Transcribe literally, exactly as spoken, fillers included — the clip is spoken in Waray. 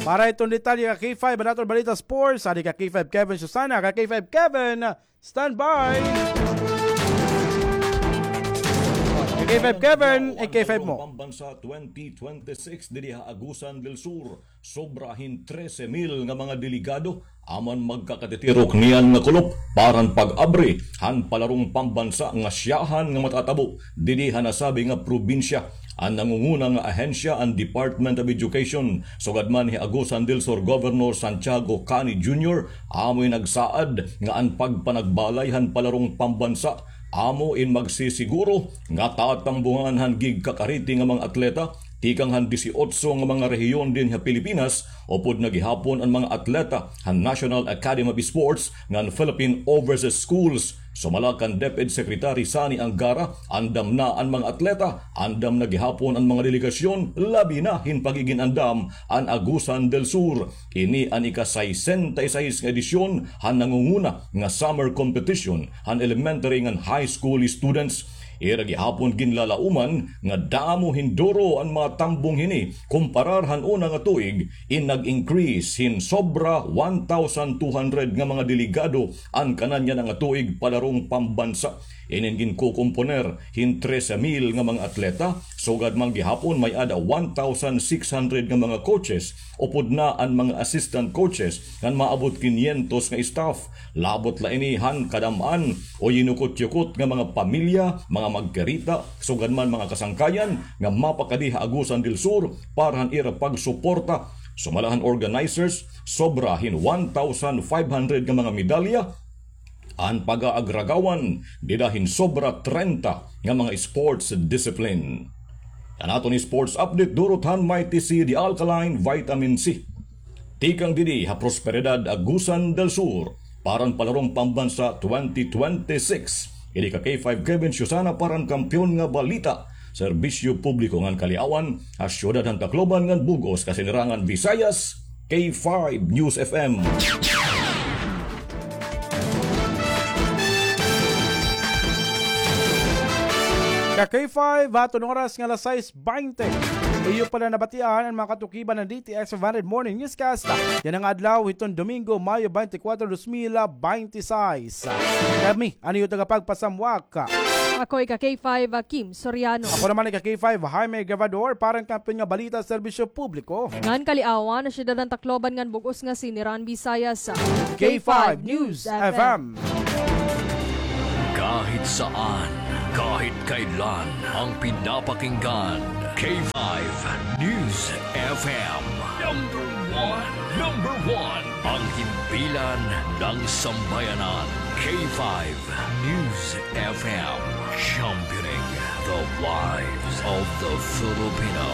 Para hiton detalye ka K five, an aton balita sports, adi ka K five Kevin Susana, ka K five Kevin, standby. Ka K five Kevin, eh, K five mo. Pambansa twenty twenty-six didi ha Agusan del Sur, sobra hin trese mil nga mga delegado an magkakatitirok niyan nga kulop para han pag-abri han palarong pambansa nga syahan nga matatabo didi ha nasabi nga probinsya. An nangunguna nga ahensya an Department of Education, sugad man hi Agusan del Sur Governor Santiago Cani Junior, amo in nagsaad nga an pagpanagbalay han palarong pambansa amo in magsisiguro nga tatambungan han gigkakariti nga mga atleta tikang han disiotso nga mga rehiyon dinhi ha Pilipinas, upod na gihapon an mga atleta han National Academy of Sports ngan Philippine Overseas Schools. Sumala kan DepEd Secretary Sonny Angara, andam na an mga atleta, andam na gihapon an mga delegasyon, labi na hin pagigin-andam an Agusan del Sur. Ini an ika-sesenta y seis nga edisyon han nangunguna nga summer competition han elementary ngan high school students. Ira gihapon ginlalauman nga damo hin duro an mga tambong hini kumparar han una nga tuig, in nag-increase hin sobra one thousand two hundred nga mga delegado an kanan yana nga tuig palarong pambansa. Inin ginkukomponer hin trese mil nga mga atleta, sugad man gihapon may-ada one thousand six hundred nga mga coaches, upod na an mga assistant coaches, ngan maabot kinyentos nga staff. Labot la ini han kadam-an o yinukot-yukot nga mga pamilya, mga magkarita, sugad man mga kasangkayan nga mapakadi ha Agusan del Sur para han ira pagsuporta. Sumala han organizers, sobra hin one thousand five hundred nga mga medalya an pag-aagragawan dida hin sobra trenta nga mga sports discipline. An aton sports update durot han Mighty C, the alkaline vitamin C. Tikang didi ha Prosperidad, Agusan del Sur, para han Palarong Pambansa twenty twenty-six. Ini ka K five Kevin Susana para han kampiyon nga balita, serbisyo publiko ngan kaliawan, ha syudad han Tacloban ngan bug-os nga sinirangan Visayas, K five News F M. Ka K five, aton oras nga alas sais baynte. Iyo pala nabatian an mga katukiban han D T X five hundred Morning Newscast yana nga adlaw hiton Domingo, Mayo twenty-four, dos mil baynte sais. Kami an iyo tagapagpasamwak. Ako ika K five, Kim Soriano. Ako naman ika K five, Jaime Grabador, para han kampiyon nga balita, serbisyo publiko ngan kaliawan, ha syudad han Tacloban ngan bug-os nga sinirangan Visayas, K five News F M. Kahit saan, kahit kailan, ang pinapakinggan, K five News F M. Number one, number one, ang himpilan ng sambayanan, K five News F M, championing the lives of the Filipino.